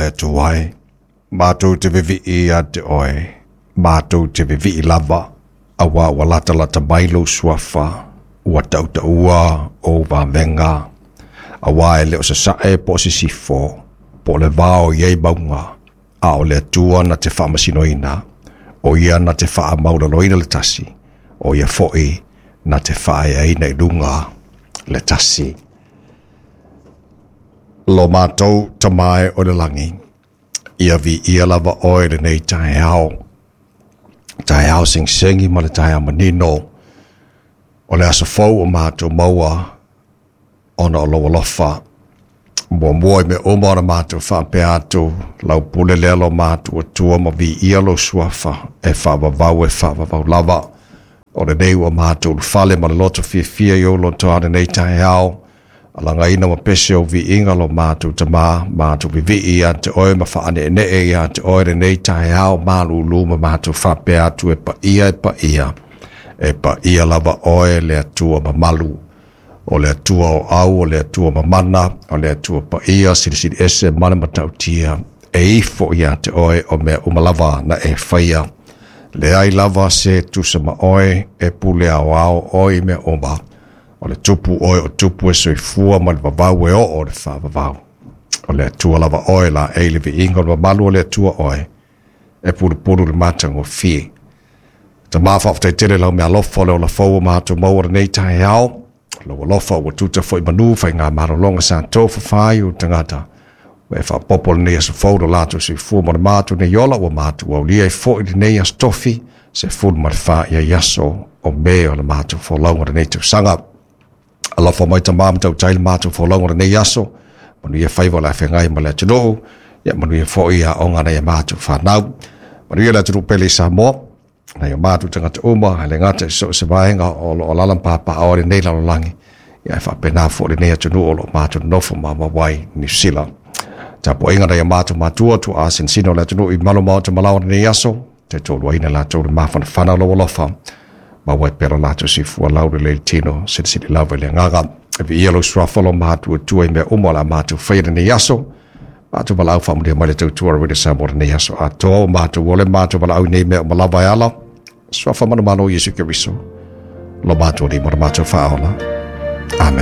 Le Atua e, matou te vevii ia te oe, matou te vevii lava, auā ua latalata mai lou suafa, ua tautaua ou vavega, auā e le o sasae po o sisifo, po o le vao e i ai mauga, a o le Atua na te faamasinoina, o ia na te faamaualaloina le tasi, o ia foi na te faaeaina i luga le tasi. Lo matou Tama e o i le lagi, ia viia lava oe i lenei taeao, taeao segisegi ma le taeao manino, o le aso fou o matou maua ona o lou alofa. Muamua i mea uma ona matou faapea atu, lau pule lea lo matou Atua ma viia lou suafa, e faavavau e faavavau lava. O lenei ua matou ulufale ma le loto fiafia i ou lotoa lenei taeao, alagaina ma pese ou viiga lo matou Tama, matou vivii ia te oe ma faaneenee ia te oe lenei taeao malulu ma matou faapea atu e paia e paia, e paia lava oe le Atua mamalu. O le Atua o au, o le Atua mamana, o le Atua paia, silisili ese ma le matautia, e ifo ia te oe o mea uma lava na e faia. Leai lava se tusa ma oe, e pule aoao oe i mea uma. O le tupu oe o tupu e soifua ma le vavau e oo le faavavau. O le Atua lava oe la e le viiga o le mamalu o le Atua oe, e pulupulu le matagofie. Tama faafetai tele lau meaalofa o le ola fou o matou maua lenei taeao. Lou alofa ua tuta foi manu faigamalologa sa tofafa ai ou tagata. Ua e faaopoopo lenei aso fou lo latou soifua ma le matou nei ola ua matou aulia ai foi lenei aso tofi 14 i aso o Me o le matou folauga lenei tausaga. Alofa mai Tama ma tautai le matou folauga lenei aso, manuia faiva o le afeagai ma le atunuu, ia manuia foi aoga a nai a matou fanau. Manuia le atunuu pele i Samoa, nai o matou tagata uma, e le gata i so o se vaega o lo o alaala ma papaaao i lenei lalolagi, ia ae faapena foi lenei atunuu o lo o matou nonofo maumau ai Niu Sila. Tapuaiga nai o matou matua, tuaa sinasina o le atunuu i malu maota malaoa lenei aso, taitoaluaina latou le mafanafana o lou alofa, maua ai pea lo latou soifua laulelei i le tino, silisili lava i le agaga. E viia lou suafa lo matou Atua i mea uma o le a matou faia i lenei aso. Matou valaau faamanuia mai le tautua a Radio Samoa lenei aso atoa. Ua matou ole matou valaau i nei mea uma lava e ala. Suafa manumalo o Iesu Keriso. Lo matou Alii ma lo matou Faaola. Amen.